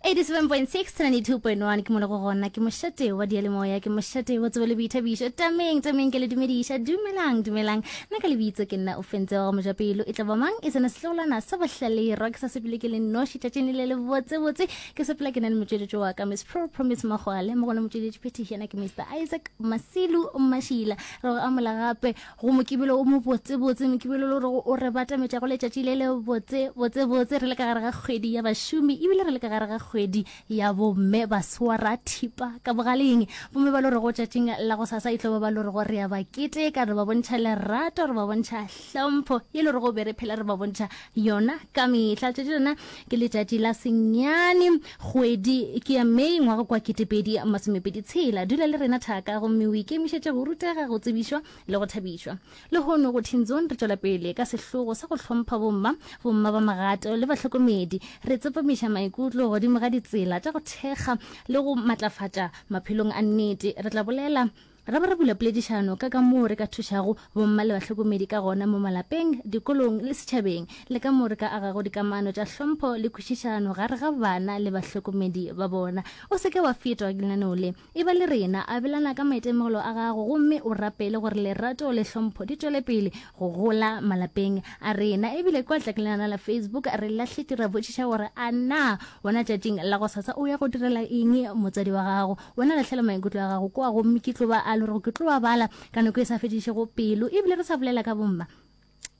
87.6 92.1 ke mo le go gona ke mošate wa diyalemoya ke mošate wa tsebo le boithabišo tameng tameng ke le dumediša dumelang dumelang nna ka lebitso ke nna o fentse wa go mojapelo e tla ba mang e sena setlogolwana sa bohlalerwa ke sa sepele ke le noši tšatšing le le botsebotse ke sepela ke na le motšweletši wa ka miss pro promise magwale mo gona motšweletši phetiši yena ke mr isaac masilu mašila re go amola gape Go mokibelo o mobotsebotse, mokibelo le gore o re batametša go letšatši le le botse botse botse, re le ka gare ga kgwedi ya bašomi ebile re le ka gare ga kgwedi ya bomme ba swara thipa ka bogaleng. Bomme ba lore go tšatšing la go sasa e tlo ba ba lore go re a ba keteka, re ba bontšha lerato, re ba bontšha hlompho ye le gore go be re phela re ba bontšha yona ka mehla. Letšatši lona ke letšatši la senyane kgwedi ke ya May ngwaga kwa 2026. Dula le rena thaka gomme o ikemišetše go rutega, go tsebišwa le go thabišwa. Lehono go Teen Zone re tšwela pele ka sehlogo sa go hlompha bomma, bomma ba magato le bahlokomedi. Re tsepamiša maikutlo godimo ga ditsela tša go thekga le go matlafatša maphelong a nnete. Re tla bolela Ra ba ra bula poledišano ka kamoo re ka thušago bomma le bahlokomedi ka gona mo malapeng, dikolong le setšhabeng, le kamoo re ka agago dikamano tša hlompho le kwešišano gare ga bana le bahlokomedi ba bona. O se ke wa fetwa ke lenaneo le. Eba le rena, abelana ka maitemogelo a gago gomme o rapele gore lerato le hlompho di tšwele pele go gola malapeng a rena. E bile kwa tlakelana la Facebook re lahletše ra botšiša gore a na wena tšatšing la gosasa o ya go direla eng motswadi wa gago. Wena lahlela maikutlo a gago kwa gomme ke tlo ba a le gore ke tlo a bala ka nako e sa fedišego pelo. Ebile re sa bolela ka bomma.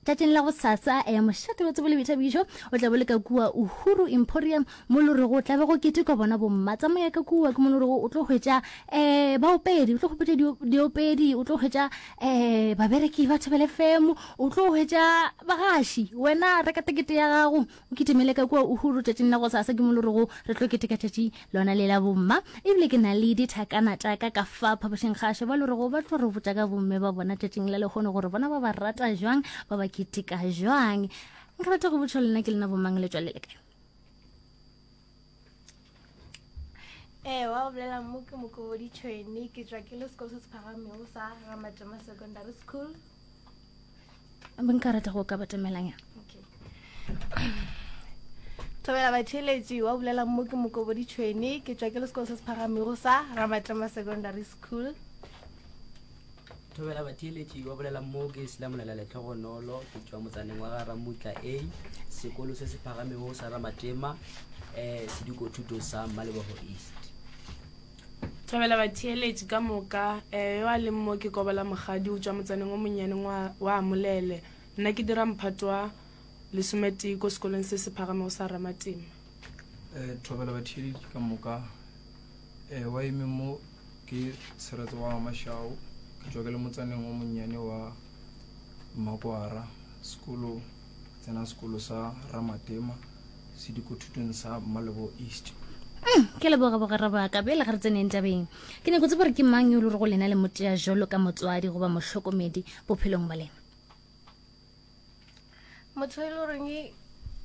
Tšatšing la gosasa ya mošate wa tsebo le boithabišo o tla bo le ka kua Uhuru Emporium mo le rego o tla be go ketekwa bona bomma. Tsamaya ka kua ke mo le rego o tlo hwetša um baopedi, o tlo hwetša diopedi, o tlo hwetša um babereki ba Thobela FM, o tlo hwetša bagaši. Wena reka tekete ya gago O kitimele ka kua Uhuru tšatšing la gosasa, ke mo le rego re tlo keteka tšatši lona le la bomma. Ebile ke na le dithakana tša ka ka fa phapošing kgašo ba le rego ba tlo re botša ka bomme ba bona tšatšing la lehono gore bona ba ba rata jwang, ba ba keteka jwang. Nka rata go botša lena ke lena bomang le tšwa le le kae? Ee, wa go bolela mo ke Mokobodi Tšhwene, ke tšwa ke le sekolo se se phagamego sa Ramatema Secondary School. Nka rata go ka batamelanyana. Okay. Thobela batheeletši wa bolela mo ke Mokobodi Tšhwene, ke tšwa ke le sekolo se se phagamego sa Ramatlema Secondary School. Thobela batheeletši wa bolela mo ke Selamolela Letlhogonolo, ke tšwa motsaneng wa ga Ramutla A, sekolo se se phagamego sa Ramatema, um sedikothuto sa Mmalebogo East. Thobela batheeletši ka moka, um yo a leng mo ke Kobola Mokgadi, o tšwa motsaneng o monnyane wa, wa Molele. Nna ke dira mphato wa lesometee ko sekolong se se phagamego sa Ramatema. Eh, thobela batheeletši ka moka. Eh, wa eme mo ke Seretse wa Mashao, ke tšwa ke le motsaneng o monnyane wa Mmakwara, sekolo tsena sekolo sa Ramatema sedikothutong sa Mmalebo East. Mm, ke leboga bogwera ba ka bjale ga re tseneng tabeng ke nyako tseba gore ke mang yo le gore go lena le motea jalo ka motswadi goba mohlokomedi bophelong ba lena Motho e le goreng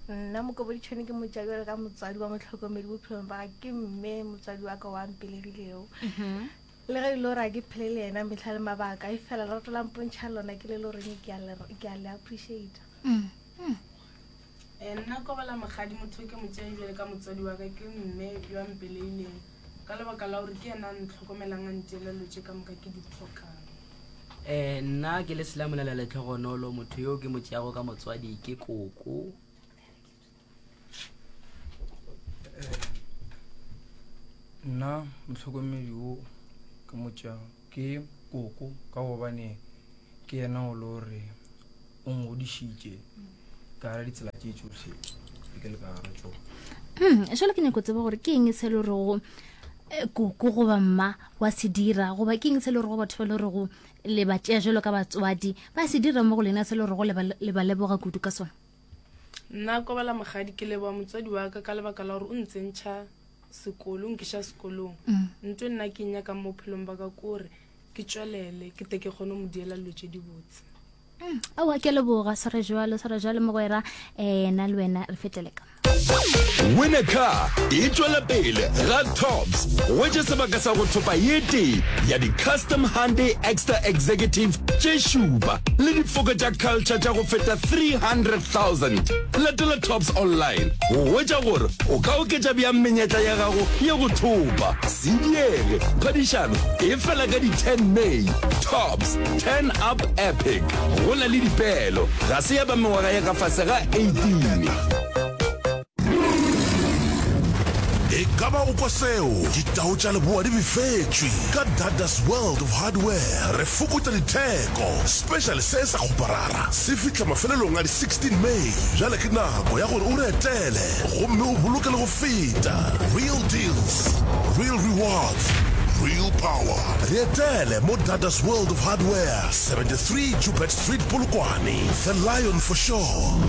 nna Mokoboditšhone ke motša bjalo ka motswadi wa motlhokomedi bophelong ba ka ke mme motswadi wa ka wa mpelegilego. Mhm. Le ge e le gore a ke phele le yena mehla le mabaka, e fela lerato la mpontšha lona ke le le goreng ke a le ke a le appreciate. Mm. Mm. Eh, nna Kobola Mokgadi motho ke mo tšeang bjale ka motswadi wa ka ke mme yo a mpeleileng ka lebaka la gore ke yena a ntlhokomelang a nteela dilo tše ka moka ke di hlokang. Eh, nna ke le Selamolela Letlhogonolo, motho yo ke mo tšeago ka motswadi ke koko. Eh, nna mohlokomedi wo ke mo tšeago ke koko ka gobane ke yena o le gore o ngodišitše ka gara ditsela tše tšohle ke le ka gara tšona. Hmm, jalo ke nyako tseba gore ke eng se le gorego eh, koko goba mma wa se dira goba ke eng se le gorego batho ba le gorego le ba tšea jalo ka batswadi ba se dira mo go lena se le gorego le ba leboga kudu ka sona? Nna Kobela Mokgadi ke leboga motswadi wa ka ka lebaka la gore o ntsentšha sekolo, o nkiša sekolong. Mm. Nto nna ke e nyakang mo bophelong ba ka ke gore ke tšwelele ke te ke kgone go mo diela dilo tše dibotse. Mm, aowa ke a leboga swara jalo swara jalo mogwera um na le wena re fetele ka. Win a Car e tšwela pele ga Tops. Hwetša sebaka sa go thopa ye tee ya di-Custom Hyundai Exter Executive tše šupa le difoka tša Culture tša go feta 300,000. Latela Tops online go hwetša gore o ka oketša bjang menyetla ya gago ya go thopa. Se diege, phadišano e fela ka di 10 May. Tops, Turn Up Epic. Go na le dipeelo, ga se ya ba mengwaga ya ka fase ga 18. E ka ba o kwa seo? Ditau tša leboa di befetšwe. Ka Dada's World of Hardware re fokotša ditheko. Special se sa kgoparara se fihla mafelelong a di 16 May. Bjale ke nako ya gore o re etele gomme o boloke le go feta. Real deals, real rewards, real power. Re etele mo Dada's World of Hardware, 73 Joubert Street, Polokwane. The Lion for sure.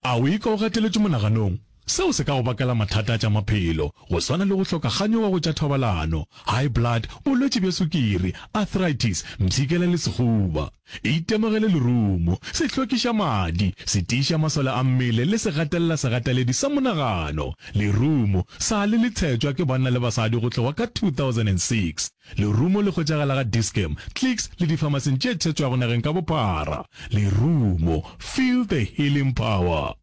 A o ikwa o gateletšwe monaganong? Seo se ka go bakela mathata a tša maphelo, go swana le go hloka kganyogo go tša thobalano, high blood, bolwetši bja sukiri, arthritis, mpshikela le sehuba. Itemogele lerumo, se hlwekiša madi, se tiiša masole a mmele le se gatelela segateledi sa monagano. Lerumo sa le le tshetšwa ke banna le basadi go tloga ka 2006. Lerumo le hwetšagala ga Dis-Chem, Clicks le difamasing tše tshetšwago nageng ka bophara. Lerumo, feel the healing power.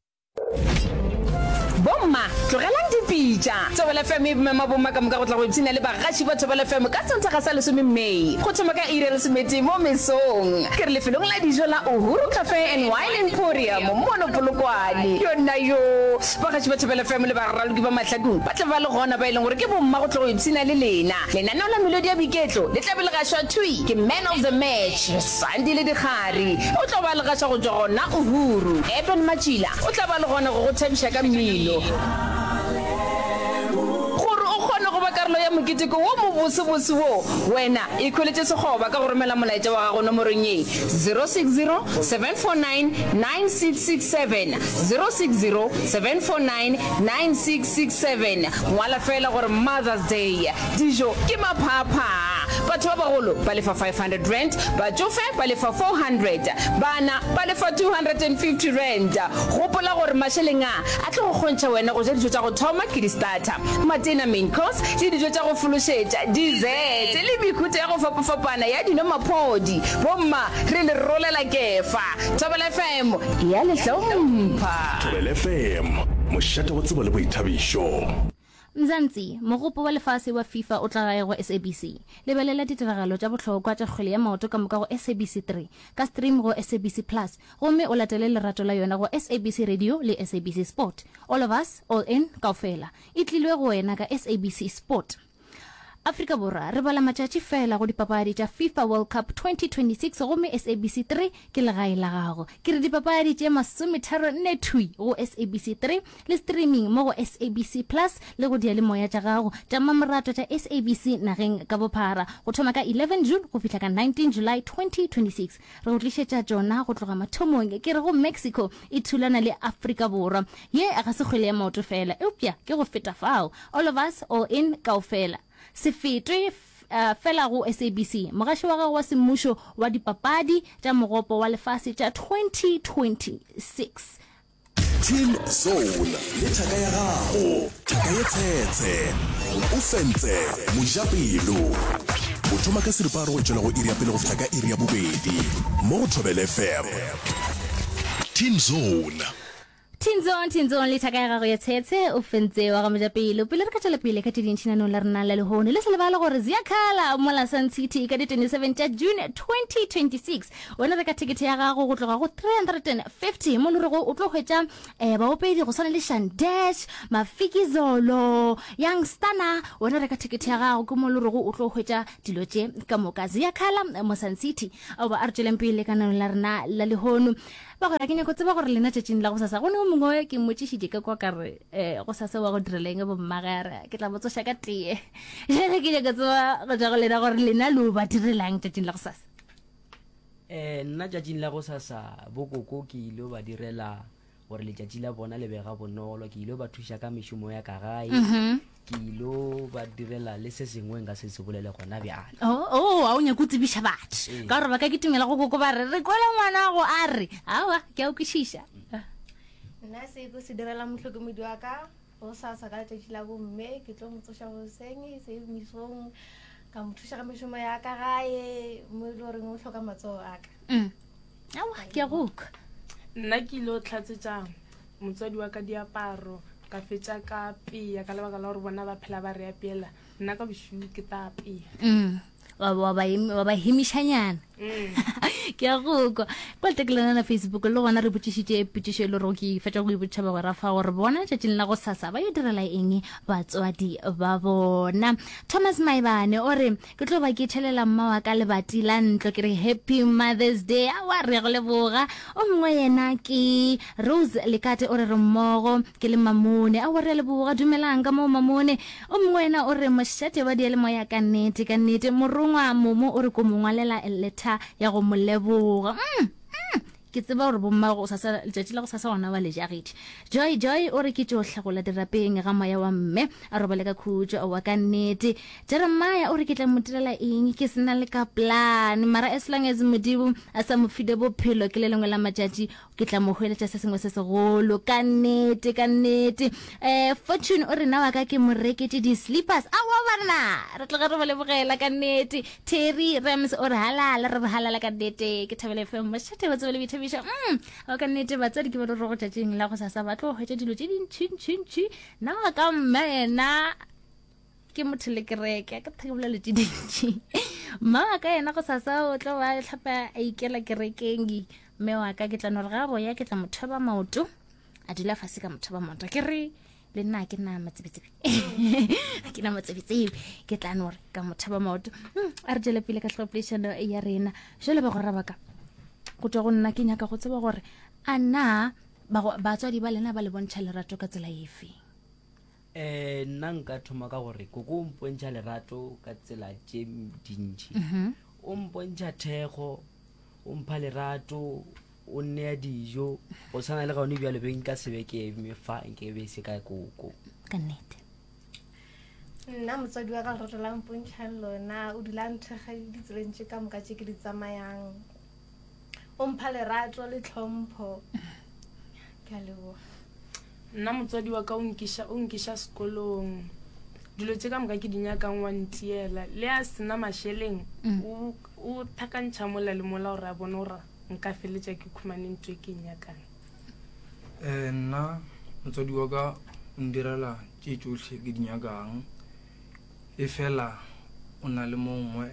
Bomma, tlogelang dipitša! Thobela FM e mema bomma ka moka go tla go ipshina le bagaši ba Thobela FM ka Sontaga sa lesome May go thoma ka iri ya lesometee mo mesong. Ke re lefelong la dijo la Uhuru Cafe and Wine Emporium mono Polokwane. Yonna yoo! Bagaši ba Thobela FM le baraloki ba mahlakong ba tla ba le gona ba e leng gore ke bomma go tla go ipshina le lena. Lenaneo la Melodi ya Boiketlo le tla be le gašwa thwi ke Man of the Match, Sandile Dikgari. O tlo ba le gaša go tšwa gona Uhuru. Eben Matšila o tla ba le gona go go thabiša ka mmino. Gore o kgone go ba karolo ya moketeko wo mobosebose wo, wena ikhweletše sekgoba ka go romela molaetša wa gago nomorong ye, 060 749 9667, 060 749 9667. Ngwala feela gore Mother's Day. Dijo ke maphaaphaa. Batho ba bagolo ba lefa R500, batšofe ba lefa R400, bana ba lefa R250. Gopola gore mašeleng a a tlo go kgontšha wena go ja dijo tša go thoma ke di-starter, matena, main course, le dijo tša go fološetša, dessert, le mehuta ya go fapafapana ya dino maphodi. Bomma, re le rolela kefa. Thobela FM e a le hlompha. Thobela FM, mošate wa tsebo le boithabišo. Mzansi, Mogopo wa lefase wa FIFA o tla gae go SABC. Lebelela ditiragalo tša bohlokwa tša kgwele ya maoto ka moka go SABC 3, ka stream go SABC Plus, gomme o latele lerato la yona go SABC Radio le SABC Sport. All of us, all in, kaofela. E tlilwe go wena ka SABC Sport. Afrika Borwa, re bala matšatši feela go dipapadi tša FIFA World Cup 2026 gomme SABC 3 ke legae la gago. Ke re dipapadi tše masometharonne thwi go SABC 3 le streaming mo go SABC Plus le go diyalemoya tša gago tša mmamoratwa tša SABC nageng ka bophara go thoma ka 11 June go fihla ka 19 July 2026. Re go tlišetša tšona go tloga mathomong. Ke re go Mexico e thulana le Afrika Borwa. Ye ga se kgwele ya maoto feela, eupša ke go feta fao. All of us, all in, kaofela. Se fetwe fela go SABC, mogaši wa gago wa semmušo wa dipapadi tša Mogopo wa Lefase tša 2026. Teen Zone le thaka ya gago, thaka ye tshetshe, o fentse mojapelo. O thoma ka seripagare go tšwela go iri ya pele go fihla ka iri ya bobedi mo go Thobela FM. Teen Zone. Thinzong, Thinzong, le thaka ya gago ya tshetshe, o fentse wa ga mojapelo. Pele re ka tšwela pele ka tše dintši nanong la rena la lehono, le se lebale gore Ziyakhala mola Sun City ka di 27 tša June 2026. Wena reka thekethe ya gago go tloga go 350 mo le rego o tlo hwetša eh, baopedi go swana le Shandesh, Mafikizolo, Young Stunna. Wena reka thekethe ya gago ke mo le rego o tlo hwetša dilo tše ka moka. Ziyakhala mo Sun City. Aoba a re tšweleng pele ka nanong la rena la lehono. Bagwera, ke nyako tseba gore lena tšatšing la gosasa, go ne o mongwe ke mmotšišitše ka kwa ka re, um gosasa wa go direla eng bommage, a re ke tla mo tsoša ka tee. Jale ke nyako tseba go tšwa go lena gore lena lo ba direlang tšatšing la gosasa. Um nna tšatšing la gosasa bokoko ke ile ba direla gore letšatši la bona le be ga bonolo, ke ile ba thuša ka mešomo ya ka gae. Ke ilo ba direla le se sengwe nka se se bolele gona bjale. Oh, oh, a o nyake o tsebiša batho. Ee. Ka gore ba ka kitimela go koko ba re, re kwele ngwanago a re. Aowa, ke a o kwešiša. Nna se ko se direla mohlokomedi wa ka gosasa ka letšatši la bomme, ke tlo mo tsoša goseng se mesong, ka mo thuša ka mešomo ya ka gae mo e le goreng o hloka matsogo a ka. Mm. Aowa, ke a go kwa. Nna ke ile go tlhatsetša motswadi wa ka diaparo, ka fetša ka apea ka lebaka la gore bona ba phela ba re apeela, nna ka bošego ke tla apea. Mm. Wa wa ba wa ba hemišanyana. Mm. Ke a go kwa. Kwa letekelana la Facebook le gona re botšišitše potšišo e le gore ke fetša go e botšiša bagwera fa gore bona letšatšing la go sasa ba yo direla eng batswadi ba bona. Thomas Maebane o re ke tlo ba ke tšhelela mma wa ka lebati la ntlo ke re happy Mother's Day. Aowa re ya go leboga. O mongwe yena ke Rose Lekate o re re mmogo ke le Mamone. Aowa re a leboga. Dumelang ka moo Mamone. O mongwe yena o re, Mošate wa diyalemoya ka nnete, ka nnete. Morongwa Momo o re ko mo ngwalela letter ya go mo leboga. Mm, mm, ke tseba gore bomma go sasa, letšatši la go sasa gona ba le jagetše. Joy, Joy o re ke tšo hlagola dirapeng ga moya wa mme, a robale ka khutšo. Aowa ka nnete. Jeremiah o re ke tla mo direla eng ke se na le ka plan, mara as long as Modimo a sa mo file bophelo ke le lengwe la matšatši Ke tla mo hweletša se sengwe se segolo. Ka nnete, ka nnete. Eh, Fortune o re na wa ka ke mo reketše di-slippers. Aowa banna, re tloge re mo lebogela ka nnete. Terry Rams o re halala, re re halala ka nnete. Ke Thobela FM, mošate wa tsebo le boithabišo. Mm, aowa ka nnete, batswadi ke ba le go tšatšing la go sasa ba tlo hwetša dilo tše dintšhi-ntšhi-ntšhi. Na wa ka mme yena ke motho le kereke ka thaka bolelo tše dintši mma wa ka yena go sasa o tlo ba tlhapa a ikela kerekeng mme wa ka ke tla no re ga boya ke tla mo thoba maoto a dula fase ka mo thoba maoto ke re le nna ke na matsebetsebe ke na matsebetsebe ke tla no re ka mo thoba maoto hmm, a re tšwele pele ka tlhopolešano ya rena jale bagwera ba ka go tswa go nna ke nyaka go tseba gore a na batswadi ba lena ba le bontšha lerato ka tsela efe Eh, nna nka thoma ka gore koko o mpontšha lerato ka tsela tše dintši. O mpontšha thekgo, o mpha lerato, o nnea dijo. Go tshwana le gone bjalo be nka se be ke eme fa nke be se ka koko. Ka nnete. Nna motswadi wa ka lerato la mpontšhang lona, o dula a nthekga ditseleng tše ka moka tše ke di tsamayang. O mpha lerato le tlhompho. Ke a leboga. Nna motswadi wa ka o nkiša, o nkiša sekolong. Dilo tše ka moka ke di nyakang wa ntiela. Le a sena mašeleng, mm. o, o thakantšha mola le mola gore a bone gore nka feletša ke khumane ntho e ke e nyakang. Eh, nna motswadi wa ka o ndirela tše tšohle ke di nyakang e fela o na le mongwe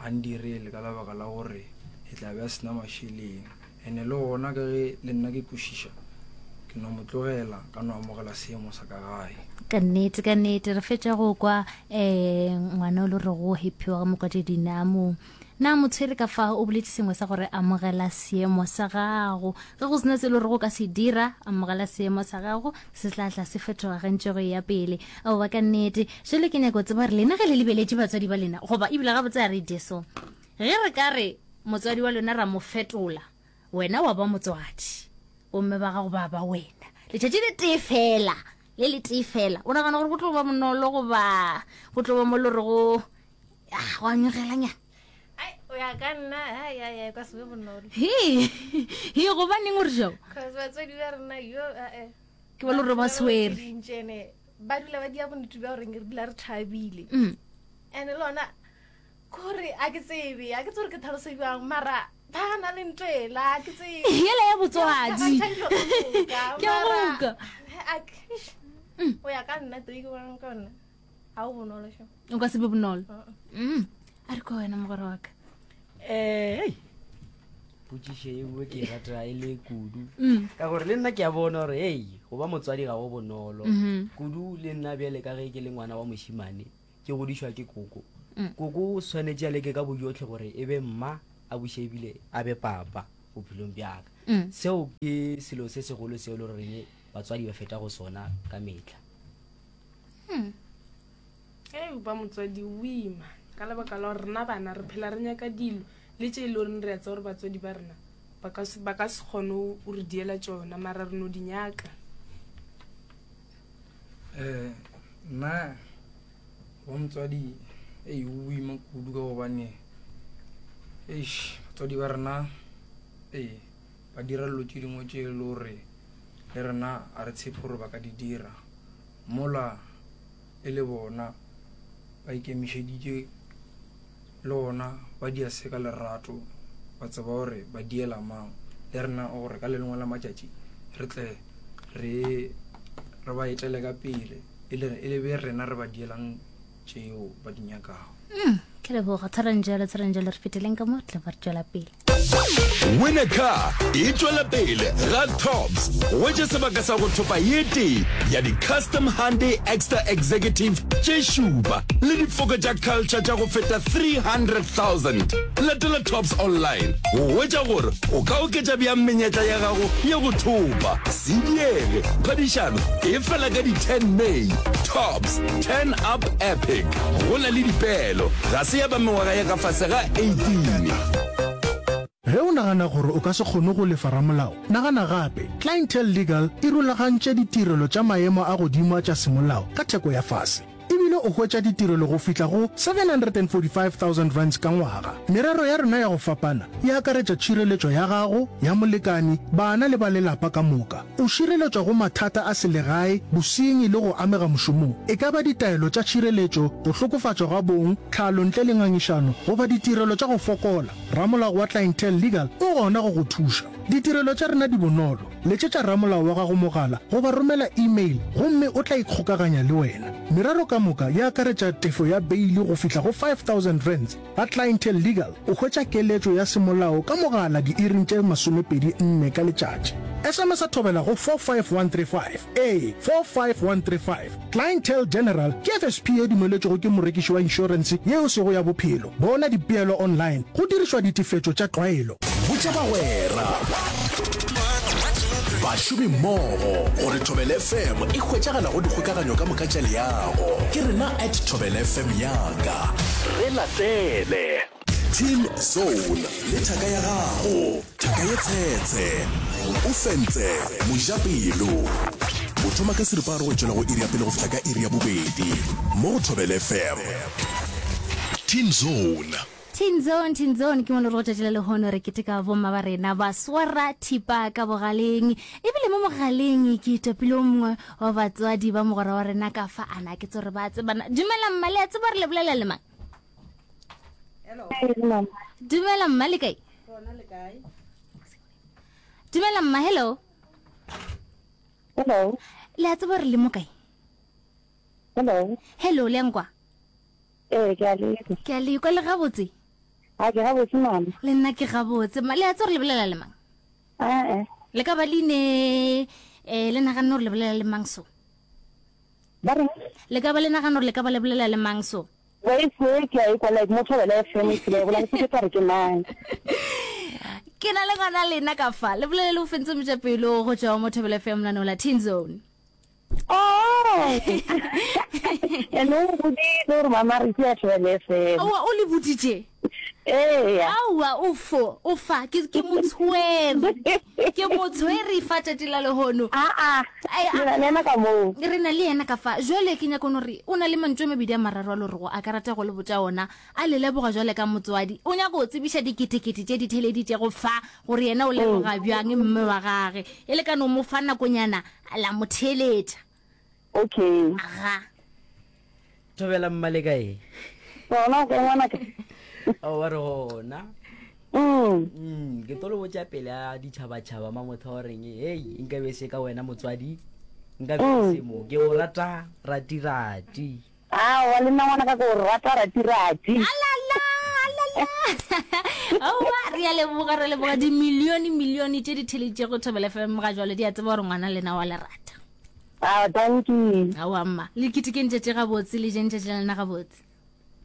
ga ndirele ka lebaka la gore e tla be a sena mašeleng Ene le gona ka ge le nna ke kwešiša, ke no mo tlogela ka no amogela seemo sa ka gae. Ka nnete, ka nnete, re fetša go kwa um ngwana o le rego Happy wa ga Mokwatedi na mo na mo tshwere ka fa o boletše sengwe sa gore amogela seemo sa gago. Ge go sena se le rego ka se dira, amogela seemo sa gago, se tla tla se fetoga ge ntše go eya pele. Aowa ka nnete. Jwale ke nyaka go tseba gore lena ge le lebeletše batswadi ba lena, goba ebile gabotse a re jeso, Ge re ka re motswadi wa lona ra mo fetola, wena wa ba motswadi, bomme ba gago ba ba wena, letšatši le tee fela, le le tee fela, o nagana gore go tlo ba bonolo goba go tlo ba mo le rego ah, go a nyogelanyana? Ai, o ya ka nna, ai, ai, ai, ka se be bonolo. He, he, gobaneng o re jalo? Cause batswadi ba rena, yo, eh, eh. Ke ba le gore ba swere. Dintšene, ba dula ba dia bonnete bja gore re dula re thabile. Mm. And le lona, Kore a ke tsebe, a ke tsebe gore ke tlhalose bjang, mara ba na le ntho ela, a ke tsebe. Yela ya botswadi. Ke a go utlwa. O ya ka nna tee ke bonang ka nna. Ga o bonolo sho. O ka se be bonolo. Mm. A re kwa wena mogwera wa ka. Eh, hey. Potšišo ye nngwe ke e rata e le kudu. Mm. Ka gore le nna ke a bona gore hei, go ba motswadi ga go bonolo. Mhm. Kudu le nna bjale ka ge ke le ngwana wa mošemane. Ke godišwa ke koko. Mm. Koko o swanetše a leke ka bojohle gore e be mma a buše ebile a be papa bophelong bja ka. Mm. Seo ke selo se segolo seo e le goreng batswadi ba feta go sona ka mehla. Mm. Ee, ba motswadi o ima ka lebaka la gore rena bana re phela re nyaka dilo le tše e le goreng re a tseba gore batswadi ba rena ba ka se, ba ka se kgone go re diela tšona mara re no di nyaka. Eh, nna wa motswadi ei o boima kudu ka gobane eish batswadi ba rena ee ba dira dilo tše dingwe tše e le gore Le rena a re tshepe gore ba ka di dira. Mola e le bona ba ikemišeditše le gona ba dia se ka lerato, ba tseba gore ba diela mang. Le rena gore ka le lengwe la matšatši re tle re re ba etele ka pele e le e le be rena re ba dielang tšeo ba di nyakago. Mm, ke leboga tshwarang jalo tshwarang jalo re feteleng ka mo tle ba re tšwela pele. Win a Car e tšwela pele ga Tops. Hwetša sebaka sa go thopa ye tee ya di-Custom Hyundai Exter Executive tše šupa le difoka tša Culture tša go feta 300,000. Latela Tops online go hwetša gore o ka oketša bjang menyetla ya gago ya go thopa. Se diege, phadišano e fela ka di 10 May. Tops, Turn Up Epic. Go na le dipeelo, ga se ya ba mengwaga ya ka fase ga 18. Ge o nagana gore o ka se kgone go lefa ramolao, nagana gape. Clientele Legal e rulagantše ditirelo tša maemo a godimo a tša semolao ka theko ya fase. E bile o hwetša ditirelo go fihla go R745,000 ka ngwaga. Merero ya rena ya go fapana e akaretša tšhireletšo ya gago, ya molekani, bana le ba lelapa ka moka. O šireletšwa go mathata a selegae, bosenyi le go amega mošomong, e ka ba ditaelo tša tšhireletšo, go hlokofatšwa ga bong, tlhalo ntle le ngangišano goba ditirelo tša go fokola. Ramolao wa Clientele Legal o gona go go thuša. Ditirelo tša rena di bonolo. Letšetša ramolao wa gago mogala goba romela e-mail gomme o tla ikgokaganya le wena. Merero ka moka e akaretša tefo ya beili go fihla go R5000. Ga Clientele Legal o hwetša keletšo ya semolao ka mogala diiring tše 24 ka letšatši. SMS-a thobela go 45135. Ee, 45135. Clientele General ke FSP ye dumeletšwego ke morekiši wa inšorense ye e sego ya bophelo. Bona dipeelo online go dirišwa ditefetšo tša tlwaelo. Botša bagwera, bašomimmogo gore Thobela FM e hwetšagala go dikgokaganyo ka moka tša leago. Ke rena at Thobela FM yaka. Re latele. Teen Zone le thaka ya gago, thaka ye tshetshe, o fentse mojapelo. Go thoma ka seripagare go tšwela go iri ya pele go fihla ka iri ya bobedi mo go Thobela FM. Teen Zone. Teen Zone, Teen Zone, ke mo le re go tšatši la lehono re keteka bomma ba rena ba swara thipa ka bogaleng. Ebile mo mogaleng ke topile o mongwe wa batswadi ba mogwera wa rena ka fa ana ke tsore ba tsebana. Dumela mma, le a tseba re le bolela le mang? Dumela mma le kae? Dumela mma, hello. Hello. Le a tseba re le mo kae? Hello. Hello, le a nkwa? Ee, ke a lekwa. Ke a lekwa le gabotse. A ke gabotse mama. Le nna ke gabotse. Ma le a tseba re le bolela le mang? Ee. Le ka ba le ne eh le naganne gore le bolela le mang so? Ba reng? Le ka ba le nagana gore le ka ba le bolela le mang so? Voice e ke a e kwa like mo Thobela FM e tsela e bola ke tla re ke mang. Ke na le ngwana lena ka fa. Le bolele le o fentse mojapelo go tšwa mo Thobela FM lenaneo la Teen Zone. Oh! Ene o boditse gore mama re ke ya Thobela FM. Aowa o le boditše? Eya. Aowa o fo o fa ke ke motshwere. Ke motshwere fa tšatši la lehono. Aa. Re na le yena ka moo. Re na le yena ka fa. Jwale ke nyaka no re o na le mantšu a mabedi a mararo a le rego a ka rata go le botša ona. A le leboga jwale ka motswadi. O nyaka go tsebiša diketekete tše di theleditšego fa gore yena o leboga bjang mme wa gage. E le ka no mo fa nakonyana la mo theeletša. Okay. Aga. Thobela mma le kae? Gona o kae ngwanaka? Aowa re gona. Mm. Mm, ke tlo le botša pele a ditšhabatšhaba ma motho wa reng hei nka be se ka wena motswadi nka be mm. se mo ke o rata ratirati Aowa le nna ngwana ka ke o rata ratirati. Alala, alala. Aowa re a leboga re leboga dimilione milione tše di theleditšego Thobela FM ga jwale di a tseba gore ngwana lena wa le rata. Aowa dankie. Aowa mma le ketekeng tšatši gabotse le jeng tšatši la lena gabotse.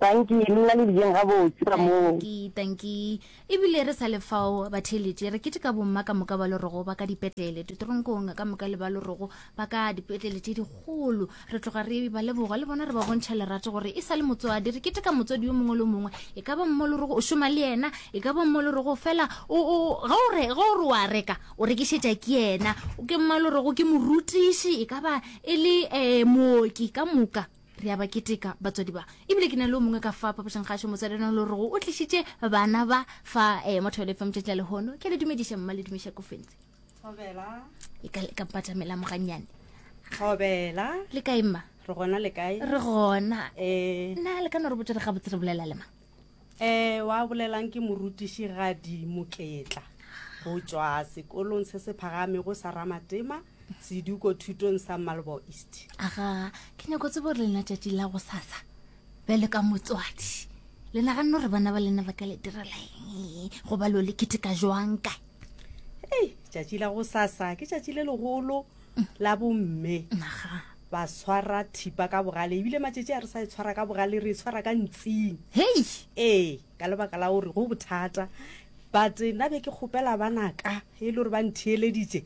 Dankie le nna le dijeng gabotse ka moo. Dankie dankie ebile re sa le fao batheeletši re keteka bomma ka moka ba lorogo ba ka dipetlele ditoronkong ka moka le ba lorogo ba ka dipetlele tše dikgolo re tloga re ba leboga le bona re ba bontšha lerato gore e sa le motswadi re keteka motswadi yo mongwe le mongwe e ka ba mmo lorogo o šoma le yena e ka ba mmo lorogo fela o o ga o re ga o re wa reka o rekišetša ke yena ke mma lorogo ke morutiši e ka ba e le um mooki ka moka Re a ba keteka batswadi ba. Ebile ke na le o mongwe ka fa papašang-kgašo motswadi ena le rego o tlišitše bana ba fa eh, mo Thobela FM tšatši la lehono. Ke a le dumediša mma le dumiša kofentse. Thobela. E ka ka mpatamela mogannyane. Thobela. Le kae mma? Re gona le kae? Re gona. Eh. Na le ka no re botša re gabotse re bolela le mang? Eh, wa bolelang ke morutišigadi Moketla go tšwa sekolong se se phagamego sa Ramatema seduko thutong sa Malbo East. Aga, ke nyako tsebo gore lena tšatši la go sasa bjale ka motswadi le naganne gore bana ba lena ba ka le direla eng goba lo le keteka jwang kae? Ei, tšatši la go sasa ke tšatši le legolo la bomme. Naga. Ba swara thipa ka bogale, ebile matšatši a re sa e tshwara ka bogale, re e tshwara ka ntsing. Hei! Ee, ka lebaka la gore go bothata. But nna be ke kgopela banaka e le gore ba ntheeleditše,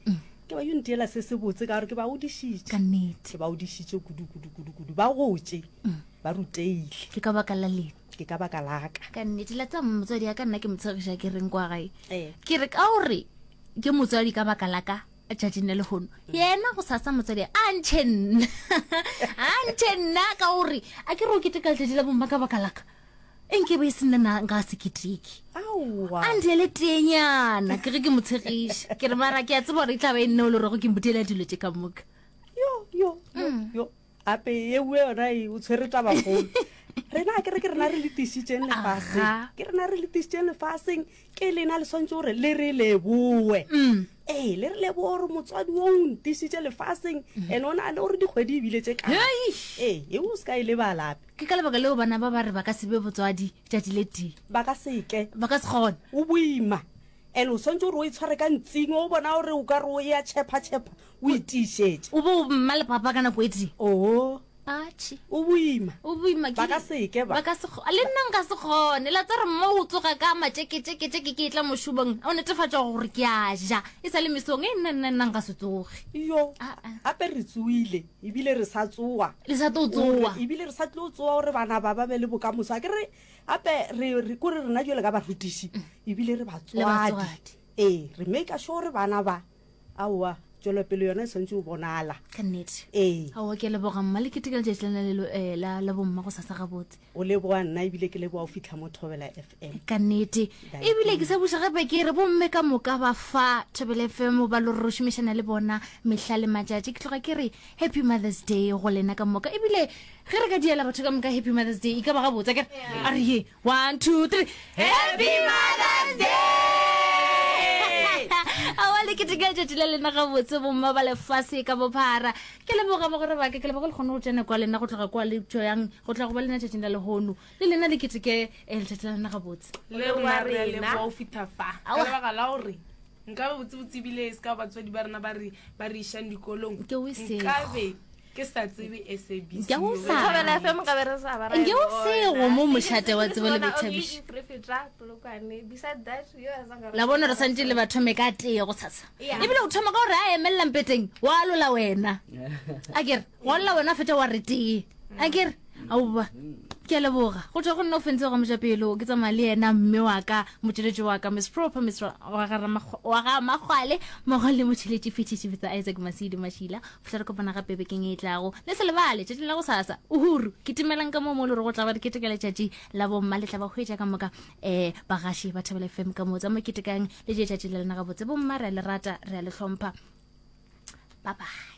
ke ba yo ntiela se se botse ka gore ke ba godišitše. Ka nnete. Ke ba godišitše kudu, kudu, kudu, kudu. Ba gotše, ba ruteile. Ke ka baka la lena. Ke ka baka la ka. Ka nnete, la tseba motswadi ya ka nna ke mo tshegiša ke reng kwa gae. Ee. Ke re ka gore ke motswadi ka baka la ka, tšatšing la lehono yena go sasa motswadi a ntšhe nna a ntšhe nna ka gore a ke re o keteka letšatši la bomma ka baka laka e nke be e se nna na nka se keteke a ndiele teenyana ke ge ke mo tshegiša ke re mara ke a tseba gore e tla ba e nne o le rego ke mboteela dilo tše ka moka yo yo yo mm. yo gape ye nngwe yona e o tshwere tabakgolo rena a kere ke rena re le tišitšeng lefaseng ke rena re le tišitšeng lefaseng ke lena le swantse gore le re leboe mm. ee le re leboe gore motswadi o o ntišitše lefaseng mm. and o na le gore dikgwedi ebile tše kae ee e o se ka e lebalape ke ka lebaka leo bana ba ba re ba ka se be botswadi tšatši le tee ba ka seke ba ka se kgone o boima and o swantse gore o e tshware ka ntsing o bona gore o ka re o ya tšhepha tšhepha o e tiišetše o bo mma le papa ka nako e tee oo atšhe o boima o boima ba ka seke ba ka se le nna nka se kgone la tsere mma o tsoga ka matšeketšeketšeke ke tla mošomong o netefatša gore ke a ja e sa le mesong e nna nna nna nka se tsoge yo gape re tsoile ebile re sa tsoa le sa tlo tsoa ebile re sa tlo tsoa gore bana ba ba be le bokamoso a ke re gape re kore rena jale ka barutiši ebile re batswadi ee re make sure gore bana ba Aowa, tšwelopele yona e swanetše go bonala. Ka nnete. Ee. Aowa, ke a leboga mma, le keteka letšatši lena le, eh, la, la bomma go sasa gabotse. O leboga nna ebile ke leboga go fihla mo Thobela FM. Ka nnete. Ebile ke sa buša gape ke re bomme ka moka ba fa Thobela FM ba lo re šomišana le bona mehla le matšatši. Ke tloga ke re Happy Mother's Day go lena ka moka. Ebile ge re ka diela batho ka moka Happy Mother's Day e ka ba gabotse akere? A re ye. 1 2 3 Happy Mother's Day! Aowa le keteka letšatši la lena gabotse bomma ba lefase ka bophara. Ke leboga bagwera ba ka, ke leboga le kgone go tšea nako ya lena go tloga kwa le tšoyang go tla go ba lena tšatšing la lehono. Le lena le keteke eh, letšatši la lena gabotse. Le rona re a leboga go fihla fa ka lebaka la gore nkabe botsebotse ebile e se ka batswadi ba rena ba re ba re išang dikolong nkabe ke sa tsebe SABC. Nke o sa. Thobela FM nka be re sa ba ra. Nke o sego mo mošate wa tsebo le boithabišo. Re feta Polokwane. Beside that, yo a sa La bona re santše le ba thome ka tee go sasa. Ebile o thoma ka gore a emelela mpeteng wa alola wena. A kere wa alola wena feta wa re tee. A kere aowa ke a leboga go tswa go nna o fentse ga mojapelo ke tsamaya le yena mme wa ka motšweletši wa ka miss proper miss wa ga makgwale mmogo le motšweletši fetiši bitsa isaac masidi mašila fihla re kopana gape bekeng e tlago le se lebale tšatši la go sasa uhuru ke timelang ka moo mo le gore go tla ba re keteka letšatši la bomma le tla ba hwetša ka moka um bagaši ba thabela fm ka moo tsa mo ketekang le je tšatši la lena gabotse bomma re a le rata re a le hlompha bye bye.